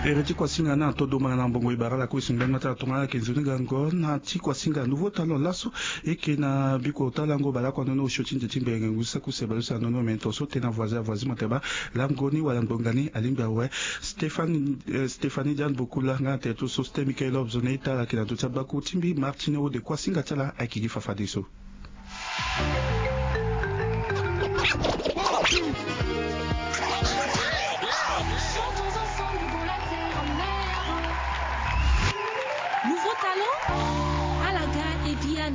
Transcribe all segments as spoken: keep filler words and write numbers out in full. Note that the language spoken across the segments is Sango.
Ere ti kuasinga na todo mara na mbongo ibara la kuisu ngbanga ta tonga ke nzoni gango na ti kuasinga nouveau talon laso. Eke na biko talango balako anono osio ti nze ti mbenge ngu saki use baleuse anono me tonso tena voisin avoisin moteba. Lango ni wala ngbonga ni alingbi awe. Stéphanie Diane Bokula nga na tere ti so stem michael lobs na ita ala ke na ndo ti abaku ti mbi martine ode kuasinga ti ala ayeke gi fafadeso.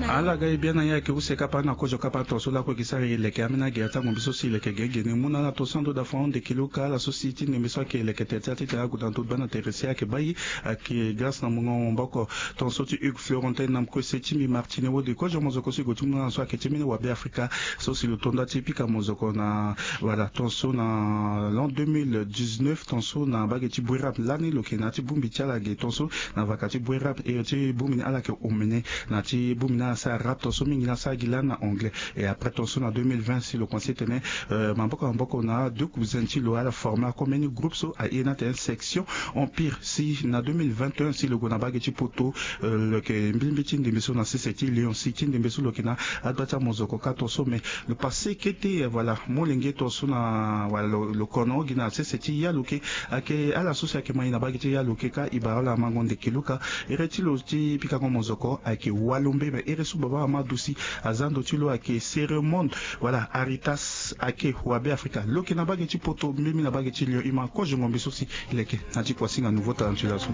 Ala ga e biana ye ayeke use kapa na kozo kapa tonso lakue gi sara e leke ambeni age atango mbi so si e leke gege ni mu na ala tonso ando da fond de kilo ka ala so si ti ndembe so ayeke leke tere ti ala titene ague na ndo gba na tere si ayeke bai. Ayeke grâce na mungo maboko tonso ti hugues florentin na mokue se ti mbi martine wode kozo mozoko so e gue ti mu na ala so ayeke ti mbeni wabe afrika. So si lo tonda ti pika mozoko na wala tonso na l'an deux mille dix-neuf tonso na mbage ti bouerab lani lo yeke na ya ti bongbi ti ala ge tonso na vaka ti bouerab ere ti bongbi ni ala yeke omene na ti bongbi ni ala sara rap tonso mingi ni asara gi lani na anglais. Et après tonso na deux mille vingt si lo pense tene maboko maboko na deux cousins ti lo ala forme ako mbeni groupe so aye ni atene section empire si na deux mille vingt et un si lo gue na mbage ti poto. Lo yeke mbilimbi ti ndembe so na sese ti lion si ti ndembe so lo yeke na agba ti amozoko ka tonso mais lo passe kete voilà molenge tonso na wala lo kono gi na sese ti ya lo yeke. Ayeke ala so si ayeke ma ye na mbage ti ya lo yeke ka ibara ala mango ndeke luka. Ere ti lo ti pikango mozoko ayeke walombe me ere so baba ama adusi aza ndo ti lo ayeke seremonde. Voilà aritas ayeke wabe afrika lo yeke na mbage ti poto mbimbi na mbage ti lion ima kozo ngombe so si e leke na ti kuasinga nouveau talent ti lo aso.